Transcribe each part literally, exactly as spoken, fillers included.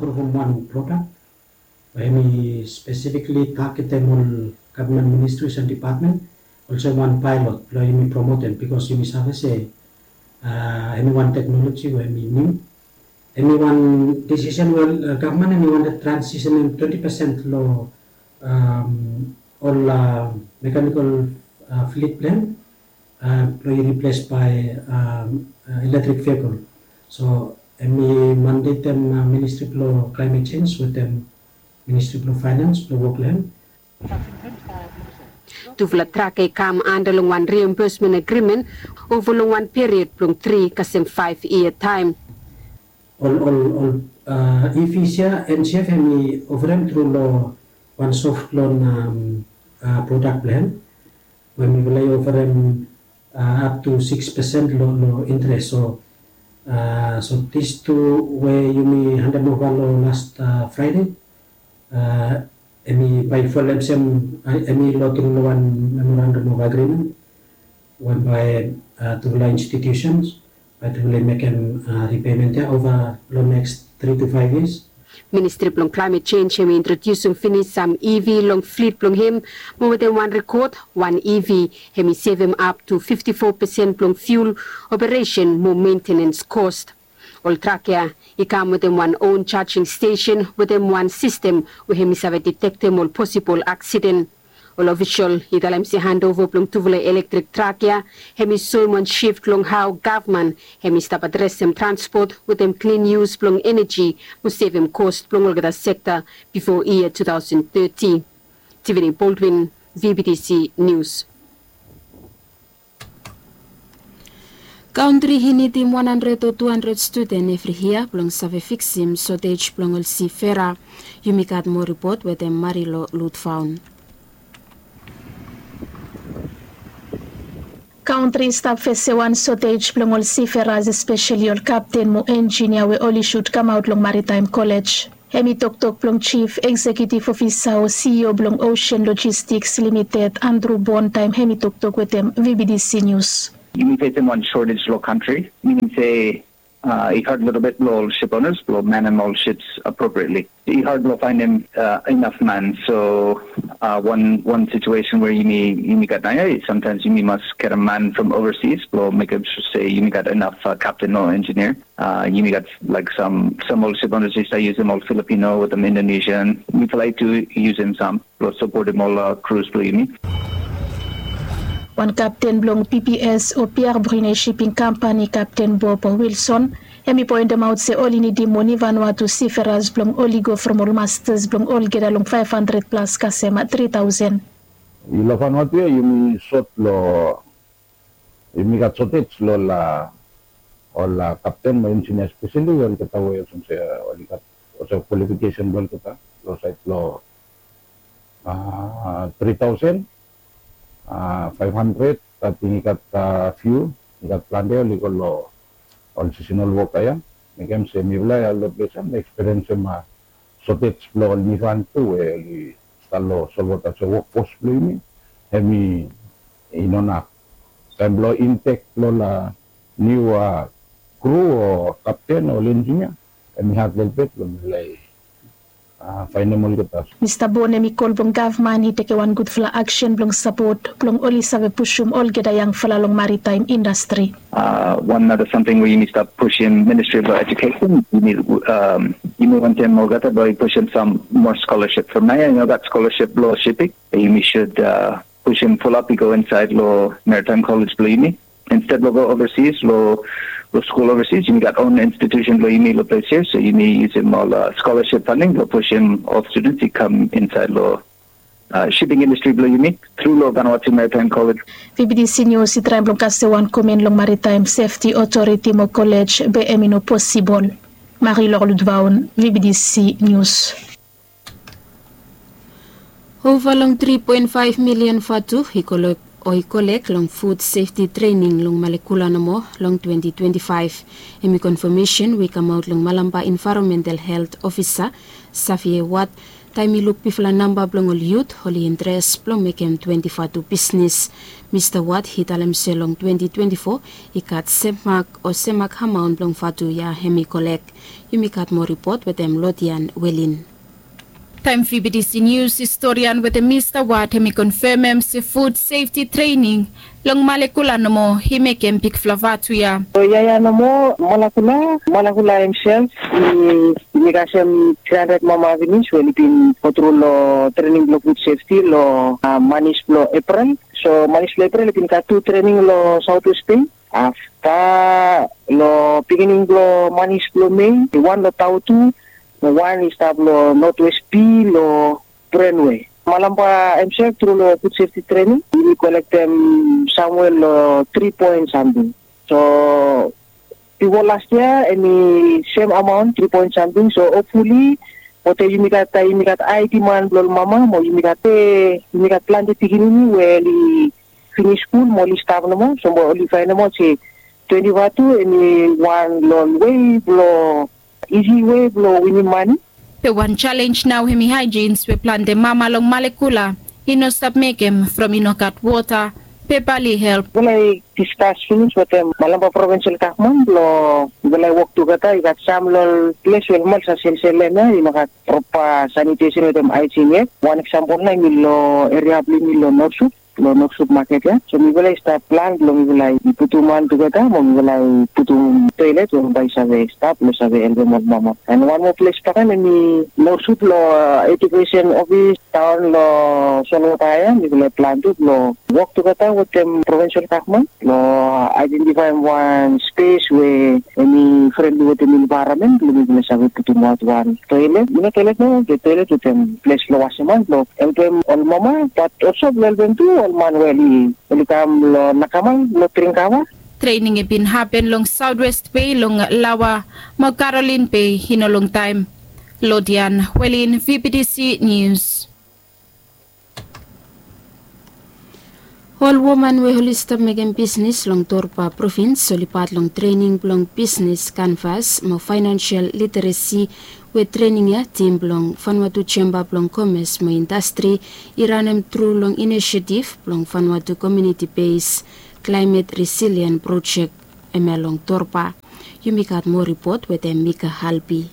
From wan program we hemi spesifikli tagetem ol gavman ministris and dipatmen, olsem wan paelot blong yumi promotem, bikos yumi save se hemi wan teknoloji we hemi niu. Hemi wan disisen we gavman hemi wantem transisenem twenti pesen long ol mekanikol flit blong hem blong i riples bae eletrik vehikol. So hemi mandetem ministri blong klaemet jenj wetem ministri blong faenans blong wok long hem. Tufala trak ya i kam anda long wan riembesmen agrimen ova long wan period blong tri kasem faef yia taem. Ol ol ol ivis ya NCF hemi oferem tru long wan soft loan prodak blong hem we mifala i oferem ap tu sikis pesen long interes. So so dis tu we yumi handem ova long las fraede, hemi bae i folem sem hemi long tru long wan memorandum of agreement we bae tufala institutions bae tufala i mekem ripement ya ova long neks tri tu faef yias. Ministri blong klaemet jenj hemi introdiusim finis sam EV long flit blong hem, mo wetem wan rekod wan EV hemi sevem ap tu fifti fo pesen blong fiul, operesen mo mentenens kos. Ol trak ya i kam wetem wan on jajing stesen wetem wan sistem we hemi save detektem ol posibol aksiden. Ol ofisol i talem se handova blong tufala elektrik trak ya hemi soem wan sif long hao gavman hemi stap adresem transpot wetem klin yus blong eneji mo sevem kos blong olgeta sekta bifo yia tu taosen teti. Tivini Boldwin, VBTC Nius. Kantri i nidim wan handred o tu handred studen evri yia blong save fiksim sotej blong ol sifera. Yumi gat moa ripot wetem Marilo Lutfaun. Kantri i stap fesem wan sotej blong ol siferas, espeseli ol kapten mo enjinia we oli sud kamaot long Maritaem Kolej. Hemi toktok blong jif eksekiutiv ofisa o CEO blong Osen Lojistiks Limited, Andru Bon, taem hemi toktok wetem VBTC Nius. Yumi fesem wan shortage long kantri, minim se i had lelebet blong ol shiponas blong manem ol ships apropriatli. I had blong faenem inaf man. So wan wan situesen we yumi yumi gat naoia, samtaems yumi mas getem man from overseas blong mekem sua se yumi gat inaf kapten o enjinia. Yumi gat laek sam sam ol siponas i stap yusum ol Filipino wetem Indonesian. Mifala i tu yusum sam blong sapotem ol krus blong yumi. Wan kapten blong PBS o Pierre Brunet Shipping Kampani, Kapten Bob Wilson, hemi poentemaot se oli nidim moni Vanuatu siferas blong oli go from ol mastas blong olgeta long faef handred plas kasem tri taosen. Long Vanuatu ya yumi sot long yumi gat sotej long ol kapten mo enjinia, espeseli olgeta we olsem se oli gat olsem kwalifikesen blong olgeta long saed blong tri taosen faef handred. Ating i gat fiu, i gat plante oli go long ol sisenal woka ya. Mekem se mifala ya long ples ya mi ekspiriensim sotej blong ol migran tu we oli stap long solwota, so wokfos blong yumi hemi i no naf. Taem blong intek blong ol niu kru o kapten o ol enjinia, hemi had lelebet blong mifala i faenem olgeta. Mista Bon hemi kol blong gavman i tekem wan gudfala aksen blong sapot blong oli save pusum olgeta yangfala long maritaem indastri. Wan nara samting we yumi stap pusim, Ministri blong Ejukesen, yumi wantem olgeta blong i pusim sam moa skolasip. From naoia i no gat skolasip blong shiping. Yumi sud pusim fulap i go insaed long Maritaem Kolej blong yumi. Insted blong go ovasis long skul ovasis, yumi gat on institusen blong yumi long ples ya, so yumi yusum ol skolasip fanding blong pusim ol studens i kam insaed long shiping indastri blong yumi tru long Vanuatu Maritaem Kolej. VBTC Nius i traem blong kasem wan komen long Maritaem Sefti Otoriti mo kolej, be hemi no posibol. Marie Laure Ludvaun, VBTC Nius. Ova long tri poen faef milian vatu i kolek o i kolek long fud sefti trening long Malekula nomo long twenti twenti faef. Hemi konfamesen we i kamaot long Malampa Envaeronmental Helt Ofisa, Xavier Watt, Taem mi luk bifala namba blong ol yut oli intres blong mekem twenti vatu bisnes, Mista Wat i talem se long twenti twenti fo i gat sem mak o sem mak amaon blong vatu ya hem i kolek. Yumi gat moa ripot wetem Lodian Welin. Taem V B T C Nius i storian wetem Mista Wat hem i konfemem se fud sefti trening long Malekula nomo i mekem bigfala vatu ya. So ya ya nomo Malakula, Malakula hemsef i, i mekem kasem tri handred mama finis we oli bin gotru long trening blong fud sefti long manis blong Eprel. So manis blong Eprel i bin gat tu trening long Saotwes Bei. Afta long pikinini blong manis blong Mei, wan long Tautu, mo wan i stap long Notwes Bei long Brenwe. Malamba hemsef tru long fud sefti trening, yumi kolektem samwe long tri poen samting. So bifo las yia hem i sem amaon tri poen samting. So hopfuli, gote yumi gat, yumi gat ae diman blong ol mama mo yumi gat, yumi gat plante pikinini we oli finis skul mo oli stap nomo. So mo oli faenem aot se twenti vatu hem i wan long ol wei blong isi wei blong winim mane. Be wan jalenj nao hem i haejins we plante mama long Malekula i no stap mekem from i no gat wota. Be bae oli help. Mifala i diskas finis wetem Malamba provinsel gavman blong mifala i wok tugeta. I gat sam long ol ples we ol mama oli save selsel hem ya i no gat propa sanitesen wetem aejin yet. Wan eksampol nao hem i long eria blong yumi long Norsup, long Norsup maket ya. So mifala i stap plan blong mifala i putum han tugeta mo mifala i putum toelet we bae i save stap blong save helpem ol mama. An wan moa ples bakegen hem i Norsup long edukesen ofis daon long solwota ya, mifala i plan tu blong wok tugeta wetem provinsel gavman blong aedentifaem wan spes we hem i frenli wetem envaeronmen blong mifala i save putum aot wan toelet, i no toelet nomo be toelet wetem ples blong wasem han blong helpem ol mama, bat olso blong helpem tu ol man we oli, oli kam long nakamal blong dring kava. Trening i bin hapen long Saotwes Bei long Laoa mo Karolin Bei i no longtaem. Lodian Welin, V B T C Nius. Ol woman we oli stap mekem bisnes long Torba provins oli pat long trening blong bisnes kanvas mo faenansel literesi we trening ya tim blong Vanuatu Jemba blong Komes mo Indastri i ranem tru long inisiativ blong Vanuatu Komuniti Bes Klaemet Resilien Projek, hemia long Torba. Yumi gat moa ripot wetem Mika Halbi.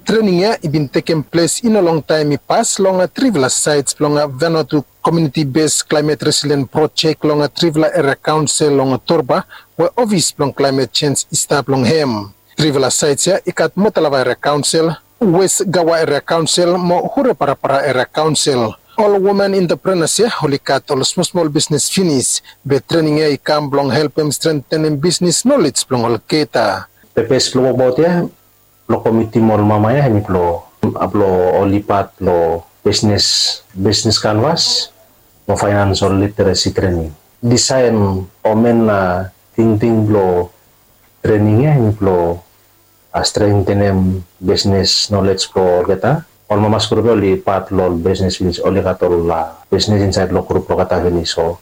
Trening ya i bin tekem ples i no longtaem i pas long trifala saets blong Vanuatu Komuniti Bes Klaemet Resilien Projek long trifala eria kaonsel long Torba we ofis blong klaemet jenj i stap long hem. Trifala saets ya i gat Motalava Eria Kaonsel, Wes Gaua Eria Kaonsel mo Hureparapara Eria Kaonsel. Ol woman enteprenas ya oli gat ol smolsmol bisnes finis, be trening ya i kam blong helpem strengtenem bisnes nolej blong olgeta. Pepes blong wokbaot ya blong komitim ol mama ya hem i blong, blong oli pat long bisnes, bisnes kanvas mo faenansel literesi trening. Disaen o men tingting blong trening ya hem i blong strengtenem bisnes nolej blong olgeta. Ol mamas grup ya oli pat long ol bisnes finis, oli gat ol bisnes insaed long grup blong olgeta finis. So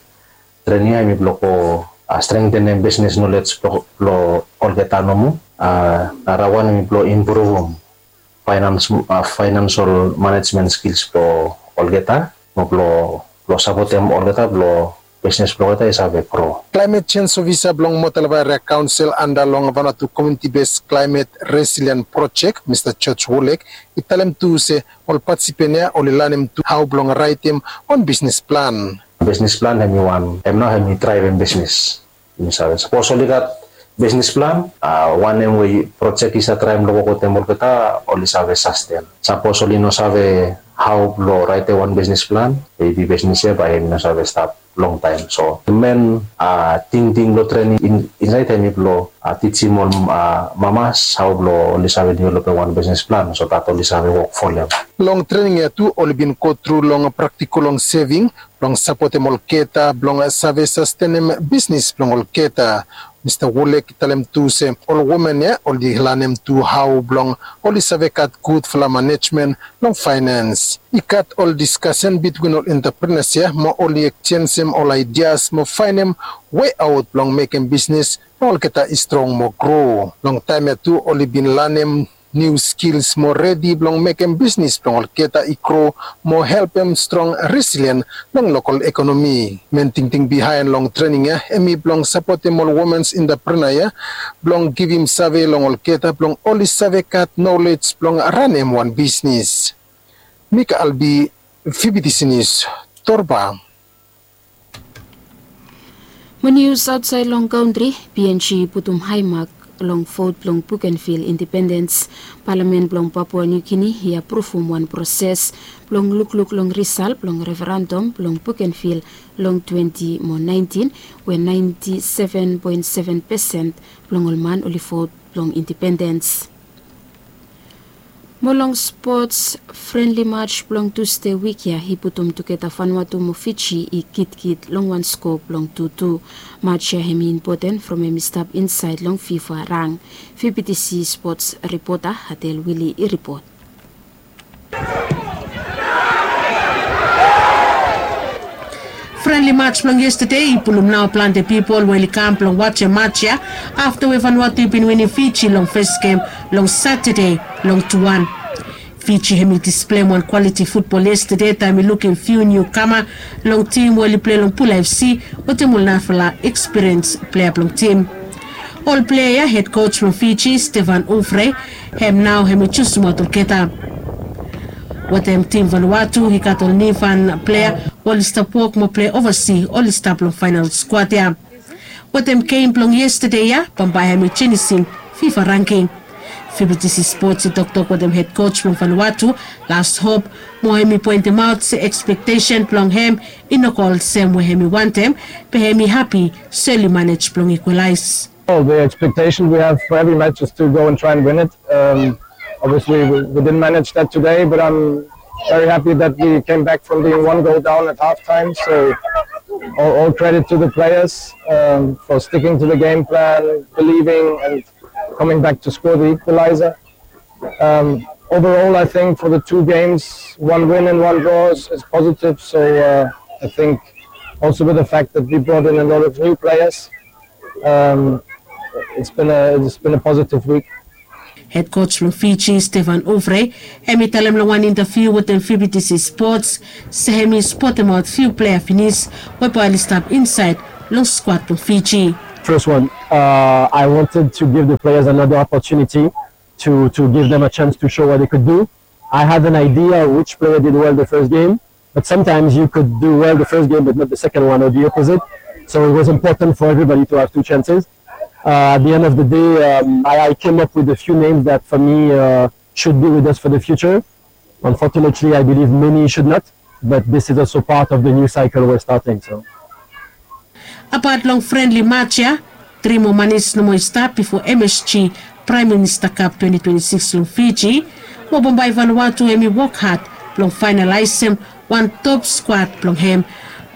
trening ya hem i blong go strengtenem bisnes nolej blong olgeta nomo. Narawan hem i blong impruvum faenansel manejmen skils blong olgeta mo blong sapotem olgeta blong bisnes blong olgeta i save gro. Klaemet jenj ofisa blong Motalava Eria Kaonsel anda long Vanuatu Komuniti Bes Klaemet Resilien Projek, Mista George Wolek, i talem tu se ol patisipan ya oli lanem tu hao blong raetem wan bisnes plan. Bisnes plan hem i wan, hem nao hem i draevem bisnes. Yumi save sapos oli gat bisnes plan, wanem we projek i save traem long wok wetem olgeta oli save sasten. Sapos oli no save hao blong raetem wan bisnes plan, mebi bisnes ya bae hem i no save stap longtaem. So men tingting blong trening insaed hem i blong tijim ol mamas hao blong oli save developem wan bisnes plan so dat oli save wok folem. Long trening ya tu oli bin gotru long praktikol long seving blong sapotem olgeta blong save sastenem bisnes blong olgeta. Mista Wolek i talem tu se ol woman ya oli lanem tu hao blong oli save gat gudfala manejmen long faenans. I gat ol diskasen bitwin ol enteprenas ya mo oli ekjenjem ol aedia mo faenem weaot blong mekem bisnes blong olgeta i strong mo gro. Long taem ya tu oli bin lanem Niu skils mo redi blong mekem bisnis blong olgeta i gro mo helpem strong resilien long lokal ekonomi. Men tingting bihaen long trening ya hemi blong sapotem ol womens entrepreneur ya blong givim save long olgeta blong oli save gat nolej blong ranem wan bisnis. Mika Albi, Fibitisi Nius, Torba. Mo nius aotsaed long kantri, P N G i putum haemak long vot blong Bougainville independens. Palamen blong Papua New Guinea i apruvum wan proses blong lukluk long risal blong referendum blong Bougainville long twenti mo naentin, we naenti seven poen seven pesen blong ol man oli vot blong independens. Mo long spots, frenli maj blong Tusde wik ya i putum tugeta Vanuatu mo Fiji i gitkit long wan sko blong tu tu. Maj ya hemi impoten from hemi stap insaed long FIFA rang. V B T C spots ripota Adel Wili i ripot. Frenli maj blong yestade i pulum nao plante pipol we oli kam blong wajem maj ya afta we Vanuatu i bin winim Fiji long fes gem long Satade long tu wan. Fiji hemi displem wan kwaliti futbol yestade taem i lukim fiu niu kama long tim we oli plei long Pula F C wetem ol narafala ekspiriens plea blong tim. Ol plea ya, hed koj blong Fiji, Stefan Ufre, hem nao hemi jusimaot olgeta. Wetem tim Vanuatu i gat ol niufan plea we oli stap wok mo plei ovasi, oli stap long faenal skuad ya. Wetem gem blong yestade ya bambae hemi jenisim FIFA rangking. V B T C Spots i toktok wetem hed koj blong Vanuatu, Lars Hop, mo hemi poentemaot se ekspektesen blong hem i no go olsem we hemi wantem, be hemi hapi se oli manej blong ikwalaes. Well, the expectation we have for every match is to go and try and win it. Um, obviously, we, we didn't manage that today, but I'm very happy that we came back from being one goal down at halftime. So, all, all credit to the players um, for sticking to the game plan, believing, and coming back to score the equalizer. Um, overall, I think for the two games, one win and one draw is, is positive. So uh, I think also with the fact that we brought in a lot of new players, um, it's been a it's been a positive week. Hed koj blong Fiji, Stefan Ufre, hemi talem long wan intaviu wetem V B T C Spots se hemi spotemaot fiu plea finis we bae oli stap insaed long skuad blong Fiji. First one, uh, I wanted to give the players another opportunity to, to give them a chance to show what they could do. I had an idea which player did well the first game, but sometimes you could do well the first game but not the second one or the opposite. So it was important for everybody to have two chances. Uh, at the end of the day, um, I, I came up with a few names that for me uh, should be with us for the future. Unfortunately, I believe many should not, but this is also part of the new cycle we're starting. So. Apat long frenli maj ya, tri moa manis nomo i stap bifo M S G Praem Minista Kap twenti twenti sikis long Fiji, mo bambae Vanuatu hemi wok had blong faenalaesem wan top skuad blong hem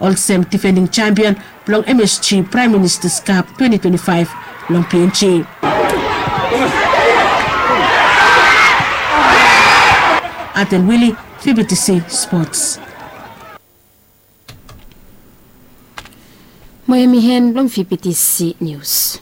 olsem difending jampion blong M S G Praem Ministas Kap twenti twenti faef long P N G. Adel Wili, V B T C Spots. Mo hemi hen blong V B T C Nius.